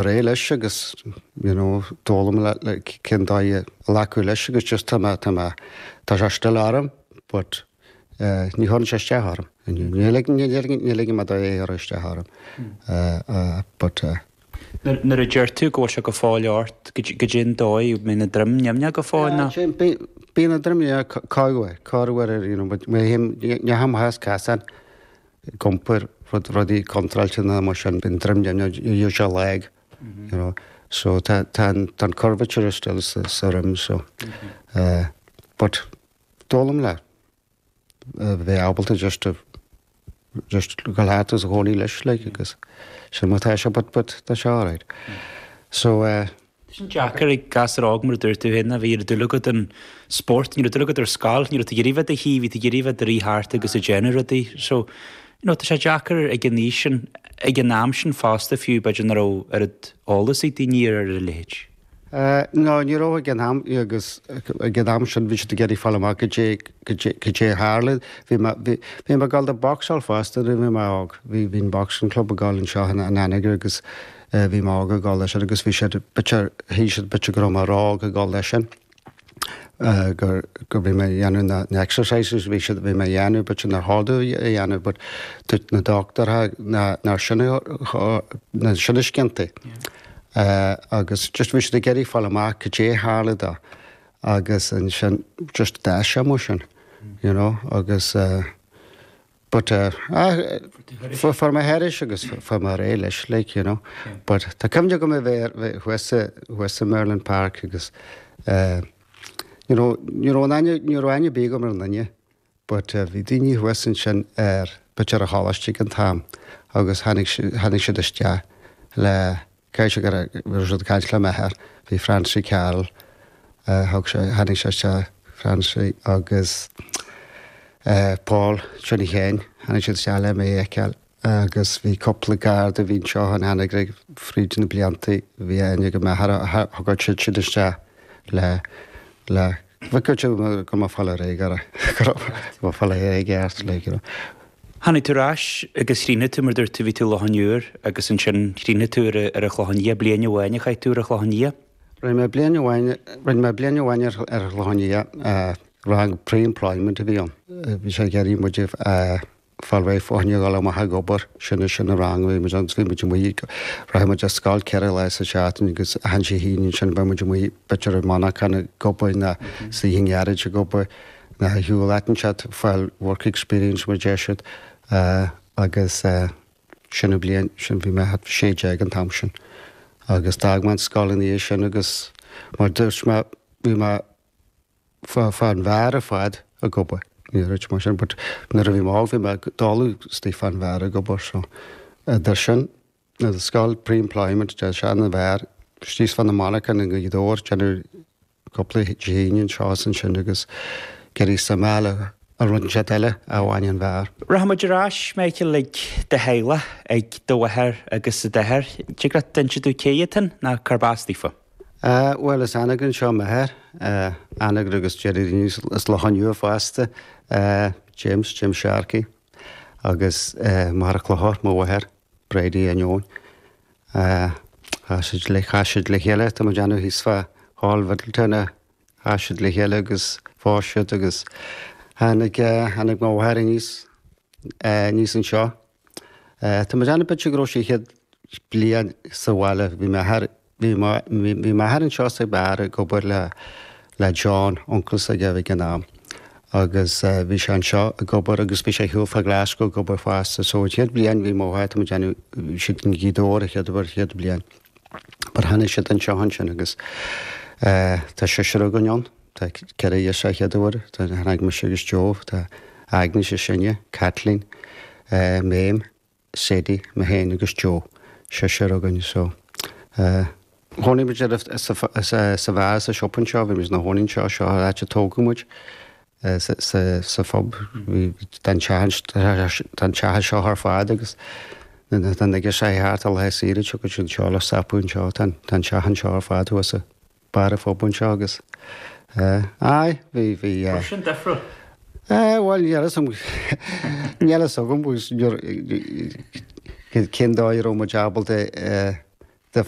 Réidh leis agus you know d'fhoghlaim le le cén dóigh a ghlacadh leis agus just tá mé tá mé tá sé still orm but eh ní chuireann sé isteach orm inniu. Ní ligeann ní ligeann ní ligeann mé dó é a chur isteach orm eh eh but eh. Nuair nuair a deir tú go bhfuil sé go fóill ort, goidé an dóigh, mbíonn an droim nimhneach go fóill nó? Yeah, bíonn an droim yeah corruair corruair you know but mé fhéin ní théim thar casán ag iompar rud, rudaí contráilte ná mar sin, bíonn droim nimhneach, níl sé lag, you know. So tá, tá an, tá an curvature still sa, sa droim so eh but d'fhoghlaim le bheith ábalta just to, just gabháil thart agus a chónaí leis like agus sin mar tá sé but, but tá sé alright. So eh. Tá sin deacair ag gasúr óg mar a dúirt tú féin, bhí dúil agat an spórt, ní raibh dúil agat ar scoil, ní raibh tú ag iarraidh bheith i do shuí, bhí tú ag iarraidh bheith ag rith thart agus ag déanamh rudaí. So, you know, tá sé deacair ag an aois sin, ag an am sin fosta fiú, b'fhéidir nach raibh oiread eolas ag daoine ar a leithéid. No, ní raibh ag an am, agus ag an am sin bhí siad ag iarraidh fáil amach goidé, goidé, goidé a tharla. Bhí mé, bhí, bhí mé ag dul do boxáil fosta nuair a bhí mé óg. Bhí, bhí an boxing club ag dul anseo in Anagaire agus Bhí mé óg ag dul leis sin agus bhí siad b'fhéidir, shíl siad b'fhéidir go raibh mé ró-óg ag dul leis sin, gur, gur bhí mé ag dhéanamh na, na exercises bhí siad, bhí mé ag dhéanamh b'fhéidir nár chóir domh a dhéanamh but dúirt na dochtúirí ná, nár sin a, ná sin a sciantaí. Agus just bhí siad ag iarraidh fáil amach cad é a tharla dó agus ansin just d'fhás sé mar sin, you know, agus. But eh, ah, fuair mé thairis agus fuair mé réidh leis, like, you know. But tá cuimhne agam a bheith bheith thuas sa, thuas sa Merlin Park agus eh, you know, ní raibh an aithne, ní raibh aithne ar bith agam ar an duine, but eh, bhí daoine thuas ansin ar, b'fhéidir ar choláiste ag an t-am agus tháinig, tháinig siad isteach le, Caithfidh sé go raibh siad ag caint le m'athair, bhí Francie Carroll, thug sé, tháinig sé isteach, Francie agus Paul Johnny Sheáin, tháinig siad isteach le mé a fheiceáil agus bhí cúpla garda a bhí anseo in Anagaire fríd na blianta, bhí aithne ag m'athair, thug siad sin isteach le, le, bhí go go mba fáil ar éigear, go mba fáil ar éigear, like, you know. Tháinig tú ar ais agus chríochnaigh tú, mar dúirt tú, bhí tú i Loch an Iúir agus ansin chríochnaigh tú ar ar an Chlochán Liath, bliain amháin a chaith tú ar an Chlochán Liath? Rinne mé bliain amháin, rinne mé bliain amháin ar ar an Chlochán Liath, rang pre-employment a bhí ann. Bhí sé ag iarraidh muid a fáil réidh fá choinne dhul amach ag obair, sin sin an rang a bhí muid ann, bhí muid amuigh, rachadh muid ar scoil 4 lá sa tseachtain agus achan Dé hAoine ansin bheadh muid amuigh b'fhéidir i monarchan ag obair nó istigh i ngearáid ag obair. Na shiúl inteacht fáil work experience mar deir siad agus sin an bliain sin bhí mé thart 16 an t-am sin agus d'fhág mé an scoil ina dhiaidh sin agus mar dúirt mé bhí mé fá fán bheár ar fad ag obair ní raibh mar sin but nuair a bhí mé óg bhí mé ag dul istigh fán bheár ag obair so idir sin na scoil pre-employment de sin an bheár istigh fá na monarchan i nGaoth Dobhair déanamh cúpla Dé hAoine anseo is ansin agus ag iarraidh suim a fháil i rud inteacht eile a bhain an bheár. Rachaidh muid ar ais, Michael, ag do theaghlach, ag do mháthair agus d'athair. Dtig leat inse domh cé hiad sin nó cárb as daofa? Bhuel, as Anagaire anseo m'athair, Anagaire agus deir daoine as Loch an Iúir fosta, James, James Sharkey, agus Máire Clochar, mo mháthair. Brady Ainneoin. Chas siad le, chas siad le chéile, tá mé ag déanamh thíos fá Hall Mhiddletown a chas siad le chéile agus phós siad agus tháinig, tháinig mo mháthair aníos, aníos anseo. Tá mé ag déanamh b'fhéidir go raibh sí chéad bliain sa bhaile, bhí m'athair, Bhí m'athair anseo sa bheár ag obair le le John, uncail s'aige ag an am, agus bhí sé anseo ag obair agus bhí sé ar shiúl fá Glasgow ag obair fosta. So an chéad bhliain bhí mo mháthair, tá mé ag déanamh, bhí siad in Gaoth Dobhair an chéad uair, chéad bhliain. But tháinig siad anseo ansin agus tá seisear againn ann, tá 4 dheirfiúr chéad uair, tá tháinig mise agus Joe, tá Agnes is sine, Kathleen, Mame, Sadie, mé féin agus Joe, seisear againn so eh chónaigh muid ar sa sa bheár sa siopa anseo, bhí muid ina chónaí anseo, seo an áit a tógadh muid eh sa sa sa phub, bhí tá an teach tá an teach anseo ar fad agus na tá na girseachaí thart ar laetha saoire tiocfaidh siad anseo le stopadh anseo, tá an tá an teach anseo ar fad thuas sa barr an phub anseo agus eh aye bhí bhí eh. Raibh sin difriúil? Eh bhuel níl fhios agam níl fhios agam agus cén dóigh a raibh muid ábalta eh. De.